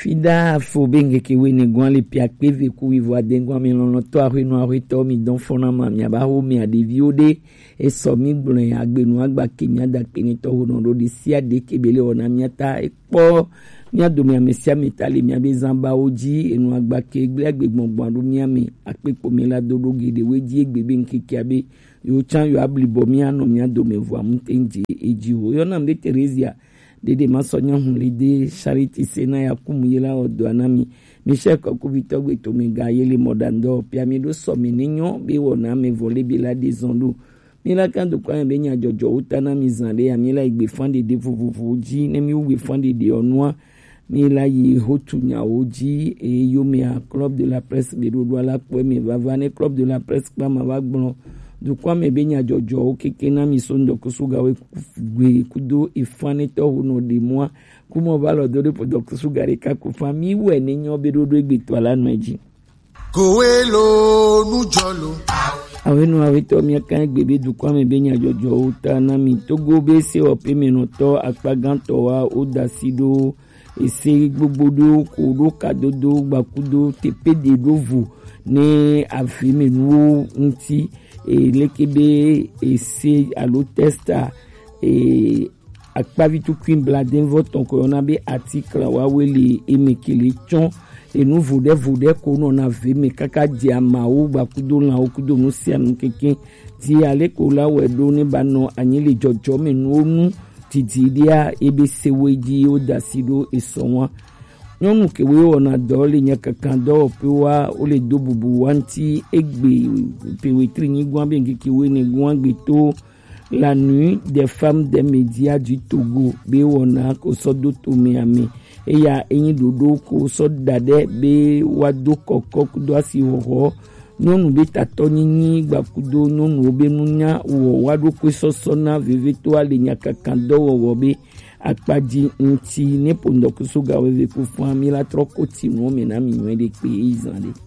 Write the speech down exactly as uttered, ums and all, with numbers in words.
Pida fo be ŋkeke wene gwan le pia kpeve ku wivo adengwan mi lɔlɔtɔ ahwenu ahwetɔ mi dɔn fɔna ma mi aba ho mi adeviwo de. Esɔ mi gblɔe agbenu agbake mi adakpe ni tɔ ho nɔ ɖo de sia de kebe le wɔna mi ata ekpɔ mi adome ame sia ame ta le mi abe zan bawo ji enu agbake gble agbe gbɔngbɔn aɖo mi ame akpe kpo mi la do ɖo geɖe we ji egbe be ŋkeke abe yo can yo ablibɔ mi anɔ mi adome vo amu te ŋdze edzi ho yɔna mi be Teresia. Dede ma sɔ nyɔnu li de Charity se na ya kum ye la ɔdɔ na mi. Michel kɔkubitɔ gbe to mi ga ye le mɔdandɔ pia mi ɖo sɔ mi ni nyɔ be wɔ na me vɔ le bi la de zɔn ɖo. Mi la kan do kwa be nya jɔjɔ wo ta na mi zan de ya mi la igbe fan de de vovovo ji ne mi wo gbe fan de de ɔnua. Mi la yi hotu nyawo ji eye yomea Club de la Presse be ɖoɖo la kpɔe mi vava ne Club de la Presse kpa ma va gblɔ dukɔa me be nyadzɔdzɔwo keke na mi so ŋdɔkusu gawo gbe kudo efanetɔ ho nɔ ɖe mɔa kumɔ va lɔ do ɖe po dɔkusu ga ɖeka ko fa mi wɛ ne nyɔ be ɖoɖo egbetɔ la nɔ edzi. Kowe lo nujɔ lo. Awenu awetɔ mi kan gbe be dukɔa me be nyadzɔdzɔwo ta na mi Togo be se ɔpe me nɔtɔ akpagantɔ wa wo dasi ɖo ese gbogbo ɖewo ko ɖo kadodo gbakudo teƒe ɖe ɖo vo ne avemenuwo ŋuti e, leke be ese alo testa e, akpavi tukui bladenvɔ tɔn ko yɔna be atikla wawe le eme ke le tsɔ enu voɖe voɖe ko nɔna ve me kaka dze amawo gbakudo lãwo kudo nu sia nu keke ti ale ko la wɛ ɖo ne ba nɔ anyi le dzɔdzɔme nuwo nu didi ɖia ebe sewoe dzi wo da asi ɖo esɔ ŋua. Nyɔnu kewoe wɔna dɔ le nyakaka dɔwɔƒewoa, wole do bubu wa ŋuti egbe ƒe wetri nyigɔa be ŋkeke wene gɔa gbe to la nuit des femmes des médias du Togo be wɔna ko sɔ do tome ame. Eya enyi ɖoɖo ko sɔ da ɖe be wa do kɔkɔ kudo asi hɔhɔ nyɔnu be tatɔ nyinyi gbakudo nyɔnuwo be nunya wɔ wa ɖo koe sɔsɔ na vevetoa le nyakaka dɔwɔwɔ be akpadzi ŋuti ne po ŋdɔkusu ga weve ku fua mi la trɔ ko ti nuwo me na mi nyuie ɖe kpe yi zan ɖe.